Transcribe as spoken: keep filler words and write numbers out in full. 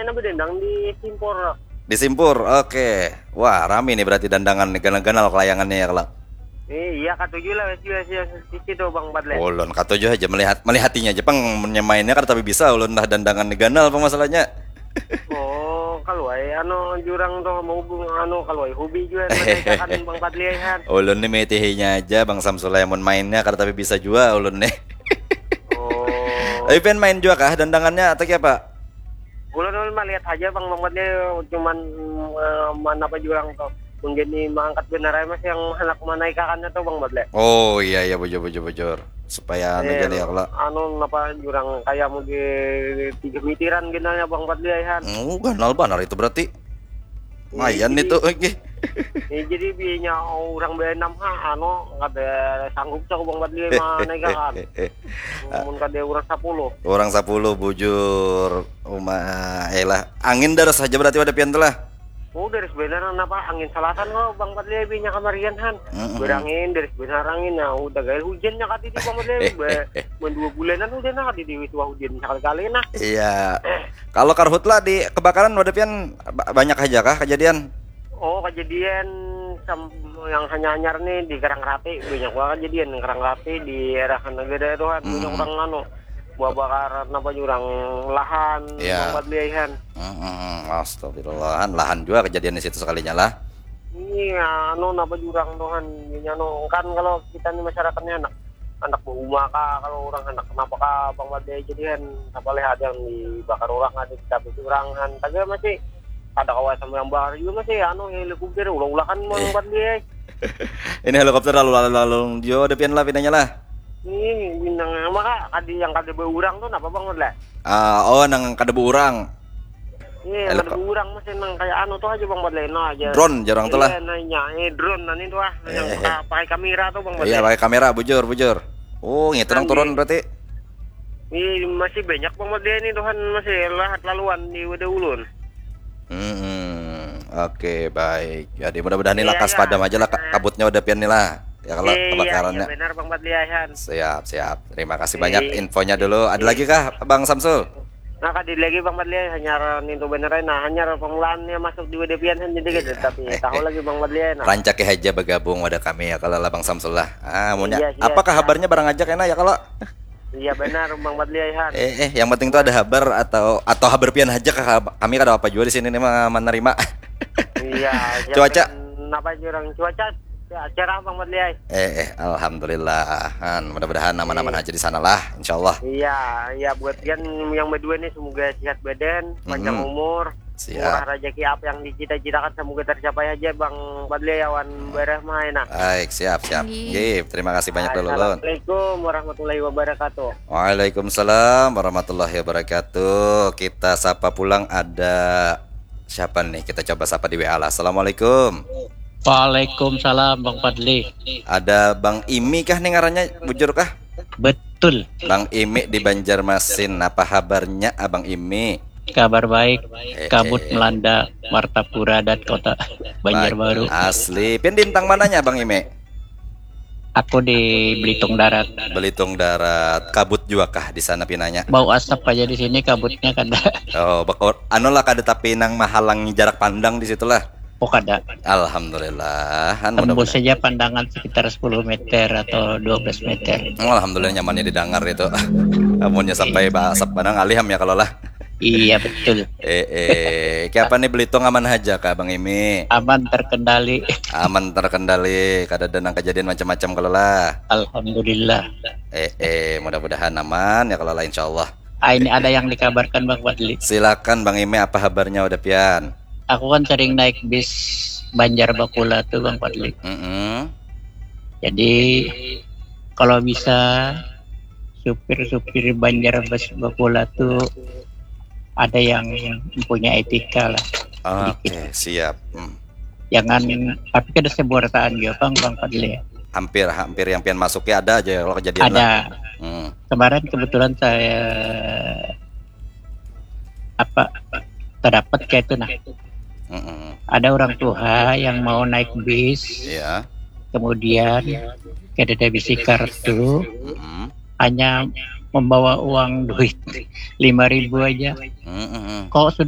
Nah, bedendang di Simpur. Di Simpur, oke. Wah, rami nih berarti dandangan nih, ganal-ganal kelayangannya ya, kalau. Eh, iya, katuju lah, wes, wes, wes, sisi tuh, Bang Padle. Ulun katuju aja melihat, melihatinya aja, pang, nyamainnya kan tapi bisa, ulun lah dandangan nih ganal, apa masalahnya? Oh, kalau ai, anu, jurang tuh, mau anu, kalau ai, hobi juga, kan, Bang Padle, kan. Ulun nih metihinya aja, Bang Samsul, mun mainnya kan tapi bisa juga, ulun nih. Oh. Tapi pengen main juga kah dandangannya atau apa? Ulun ulun mah lihat aja, Bang Mamat nih, cuman, eh, mana apa jurang tuh. Mungkin ni mangangkat benar aja, Mas, yang anak manaikakannya tuh, Bang Mamat. Oh iya iya, bujur bujur bujur. Supaya anu, eh, jadi ya kalau anu, apa, jurang kayak mau di tiga mitiran gini ya, Bang Mamat, ya, Han. Oh, ganal banar itu berarti. Mayan itu, oke. Ya, jadi biayanya orang beenam ha, anu, kada sanggup cak, Bang Mamat, ya, manaikakan. Mun kada orang sepuluh. Orang sepuluh, bujur. Uma, eh lah. Angin daras aja berarti pada pian tuh lah. Oh, daras benar, napa angin selatan kok, Bang Padli, binya kamarian, Han. Mm-mm. Berangin, daras benar angin. Nah, udah gaya hujannya kati di Bang Padli. Be, men dua bulanan udah nah, di Dewi Tua hujan sekali-kali nah. Iya. Kalau karhutla di kebakaran pada pian ba- banyak aja kah kejadian? Oh, kejadian sam- yang hanya-hanyar nih di Karang Rapi, banyak banget kejadian Karang Rapi di daerah negara itu, Han. Banyak orang anu, buah bakaran apa jurang lahan, ya. Tempat liaihan. Hmm, astagfirullahan, lahan juga kejadian di situ sekalinya lah. Iya, anu, napa jurang tuh, Han? Ini anu, kan kalau kita nih masyarakatnya anak anak berumah kah, kalau orang anak kenapa kah, Bang Bade, jadi kan apa leh ada yang dibakar orang, ada ditabisi orang, Han, tapi masih ada kawasan yang bakar juga masih anu, helikopter ulah-ulah kan, Bang Bade. Ini helikopter lalu lalu lalu jo ada pian lah pinanya lah. Ih, bintang maka kadi yang kada beurang tuh napa, Bang, lah? Ah, oh, nang kada beurang. Iya, kada beurang masih nang kayak anu tuh aja, Bang, Badlena aja. Drone jarang tuh lah. Iya, nanya, eh, drone nani tuh ah, yang eh, eh. Pakai kamera tuh, Bang, Badlena. Iya, pakai kamera, bujur, bujur. Oh, ngitu nang turun berarti. Iya, masih banyak, Bang, Badlena ini, Tuhan, masih lahat laluan di wadah ulun. Hmm, oke, baik. Jadi mudah-mudahan ini iya, lakas iya, padam aja lah, iya. Kabutnya udah pian nih lah. Ya kalau iya, kebakarannya. Iya, benar, Bang Badliahan. Siap, siap. Terima kasih banyak infonya dulu. Ada lagi kah, Bang Samsul? Nah, kadi lagi, Bang Badliahan, hanyar nintu benar, nah, hanyar pemulaannya masuk di W D P N jadi gitu, tapi tahu lagi, Bang Badliahan. Nah. Rancaki aja bergabung wadah kami ya kalau lah, Bang Samsul lah. Ah, munya. Iya, iya, apakah iya. Kabarnya barang aja kena ya kalau? Iya benar, Bang Badliahan. Eh, eh, yang penting tuh ada habar atau atau habar pian aja kah, kami kada apa juga di sini nih menerima. Iya. Cuaca. Kenapa jurang cuaca? Ya, cerah, Bang Badliai. Eh, eh, alhamdulillah. Han, mudah-mudahan aman-aman aja di sana lah, insyaallah. Iya, iya, buat pian yang berdua nih, semoga sehat badan, panjang umur. Siap. Murah rezeki, apa yang dicita-citakan semoga tercapai aja, Bang Badliai, awan barah mah enak. Baik, siap, siap. Nggih, terima kasih banyak dulu, Lun. Assalamualaikum warahmatullahi wabarakatuh. Waalaikumsalam warahmatullahi wabarakatuh. Kita sapa pulang ada siapa nih? Kita coba sapa di W A lah. Assalamualaikum. Waalaikumsalam, Bang Fadli. Ada Bang Imi kah nih ngarannya, bujur kah? Betul. Bang Imi di Banjarmasin. Apa habarnya, Abang Imi? Kabar baik. Eh, Kabut eh. Melanda Martapura dan Kota Banjarbaru. Asli. Pian di intang mananya, Bang Imi? Aku di Belitung Darat. Belitung Darat. Kabut juga kah di sana pinanya? Bau asap aja di sini, kabutnya kada. Oh, bakor, anu lah, kada tapi nang mahalangi jarak pandang di situlah. Oh, kada. Alhamdulillah. Tembus saja pandangan sekitar sepuluh meter atau dua belas meter. Oh, alhamdulillah, nyamannya didengar itu. Amunnya sampai bahasa padang aliham ya kalau lah. Iya, betul. Eh, eh, kayak apa nih, Belitung aman aja kah, Bang Imi? Aman terkendali. Aman terkendali, kada ada nang kejadian macam-macam kalau lah. Alhamdulillah. Eh, eh, mudah-mudahan aman ya kalau lah, insyaallah. Ah, ini ada yang dikabarkan, Bang Fadli. Silakan, Bang Imi, apa kabarnya udah pian? Aku kan sering naik bis Banjar Bakula tuh, Bang Fadli. Mm -hmm. Jadi kalau bisa supir-supir Banjar Bas Bakula tuh ada yang punya etika lah. Oke, okay, siap. Hmm. Jangan, tapi kada sebuah rataan juga, Bang, Bang Fadli. Hampir, hampir yang pian masuki ada aja kalau kejadian ada. Lah. Hmm. Kemarin kebetulan saya apa terdapat kayak itu nah. Mm-mm. Ada orang tua yang mau naik bis, yeah. Kemudian kada ada bisi kartu, mm-hmm. Hanya membawa uang duit lima ribu aja. Mm-hmm. Kok sudah